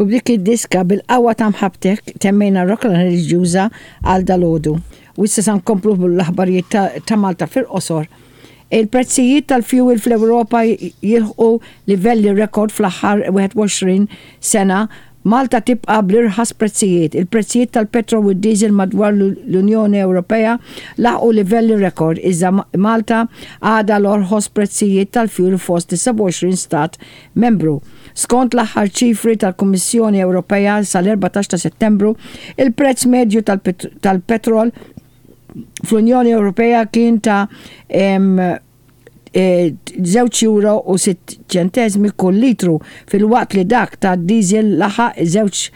U b'dik id-diska bil-qawwa ta' mħabbtek temmejna r-rokna reliġjuża għal dalgħodu. U issa sa nkomplu bl-aħbarijiet ta' Malta fil-qosor. Il-prezzijiet tal-fjuwil fl-Ewropa jilħqu livelli rekord fl-aħħar 21 sena, Malta tibqa' bl-irħas prezzijiet. Il-prezzijiet tal-petrol u d-diesel madwar l-Unjoni Ewropea laħqu livelli rekord, iżda Malta għadha l-orħos prezzijiet tal-fjuwil fost is-27 stat membru. Skont l-aħħar ċifri tal-Kummissjoni Ewropea sal-14 ta' Settembru, il-prezz medju tal-petrol fl-Unjoni Ewropea kien ta' żewġ euro u sitt ċenteżmi kull litru, filwaqt li dak tad-diesel laħaq żewġ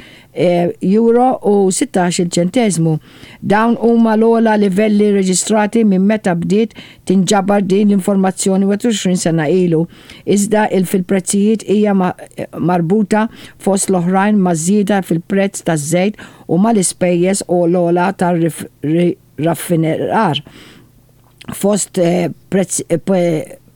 euro u sittax-il ċenteżmu. Dawn huma l-ogħla livelli reġistrati minn meta bdiet tinġabar din l-informazzjoni 21 sena ilu. Iżda il fil-prezzijiet hija marbuta fost l-oħrajn maż-żieda fil-prezz taż-żejt u mal-ispejjeż u l-ogħla tar-raffinerar fost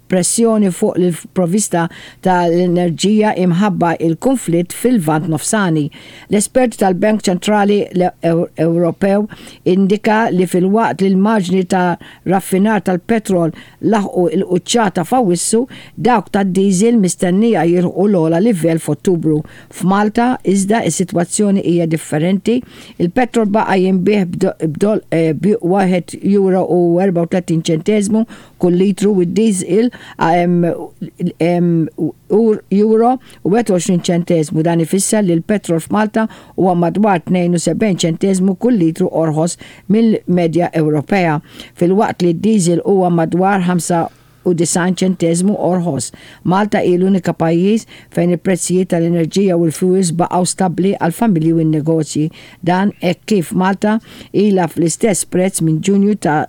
pressjoni fuq l-provvista tal-enerġija imħabba il-kunflitt fil-Lvant Nofsani. L-esperti tal-Bank Ċentrali Ewropew indika li filwaqt li l-marġni ta' raffinar tal-petrol laħqu l-quċċata f'Awwissu, dawk tad-diesel mistennija jilħqu l-ogħla livell f'Ottubru. F'Malta, iżda, is-sitwazzjoni hija differenti, il-petrol baqa' jinbiegħ b' euro u 34 ċenteżmu kull litru u d-diesel euro u 21 ċenteżmu. Dan ifisser li l-petrol f'Malta huwa madwar 72 ċenteżmu kull litru orħos mill-medja Ewropea, filwaqt li d-diesel huwa madwar 95 ċenteżmu orħos. Malta hi l-unika pajjiż fejn il-prezzijiet tal-enerġija u l-fuels baqgħu stabbli għall-familji u n-negozji. Dan hekk kif Malta ilha fl-istess prezz minn Ġunju ta'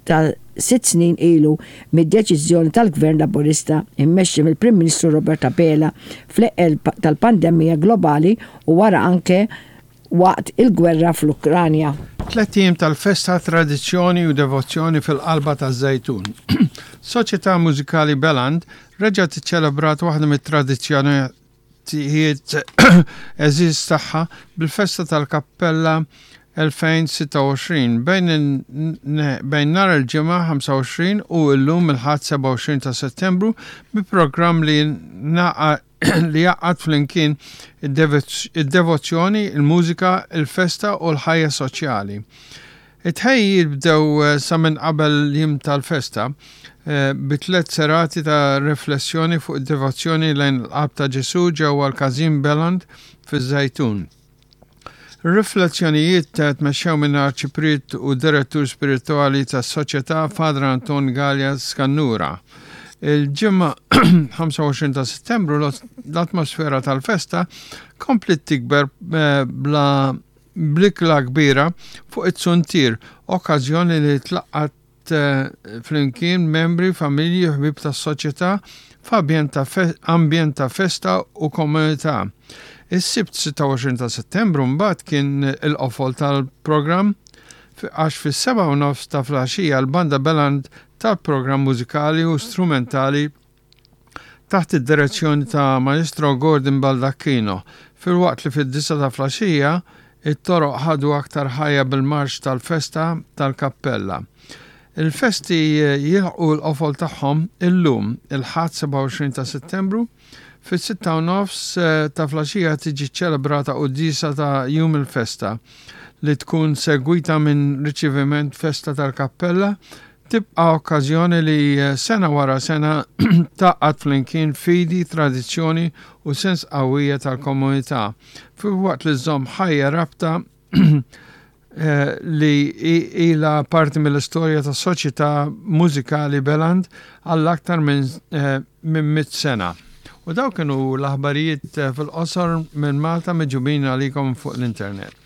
ta' sitt snin ilu mid-deċiżjoni tal-Gvern Laburista mmexxi mill-Prim Ministru Robert Abela fl-eqqel tal-pandemija globali u wara anke waqt il-gwerra fl-Ukranja. Tlett ijiem tal-festa, tradizzjoni u devozzjoni fil-qalba taż-Żejtun. Soċjetà Mużikali Beland reġgħet iċċelebrat waħda mit-tradizzjonijiet għeżież tagħha bil-festa tal-Kappella 2026 bejn bejn nhar il-Ġimgħa 25 u llum il-Ħadd 27 ta' Settembru bi programm li li jgħaqqad flimkien id-devozzjoni, il-mużika, il-festa u l-ħajja soċjali. It-tħejjijiet bdew sa minn qabel l-jiem tal-festa bi tliet serati ta' riflessjoni fuq id-devozzjoni lejn il-Qalb ta' Ġesù ġewwa l-Każin Beland fiż-Żejtun. Ir-riflessjonijiet tmexxew minn Arċipriet u Direttur Spiritwali tas-Soċjetà Father Anton Galea Scannura. Il-Ġimgħa 25 ta' Settembru l-atmosfera tal-festa kompliet tikber bla bl-ikla kbira fuq it-suntier, okkażjoni li tlaqqat flimkien membri, familji u ħbieb tas-soċjetà f'ambjent ta' ambjent ta' festa u komunità. Is-Sibt 26 ta' Settembru mbagħad kien il-qofol tal-programm għax fis-sebgħa u nofs ta' filgħaxija l-Banda Beland tat programm mużikali u strumentali taħt id-direzzjoni ta' Maestro Gordon Baldacchino, filwaqt li fid-disgħa ta' flaxija it-toroq ħadu aktar ħajja bil-marċ tal-festa tal-kappella. Il-festi jilħqu l-qofol tagħhom illum, il-Ħadd 27 ta' Settembru, fis-sitta u nofs ta' flaxija tiġi ċċelebrata quddiesa ta' jum il-festa li tkun segwita minn riċeviment festa tal-kappella Tibqa' okkażjoni li sena wara sena tgħaqqad flimkien fidi, tradizzjoni u sens qawwija tal-komunità, filwaqt li żżomm ħajja rabta li ilha parti mill-istorja tas-Soċjetà Mużikali Beland għal aktar minn minn mitt sena. U dawk kienu l-aħbarijiet fil-qosor minn Malta miġubin għalikom fuq l-internet.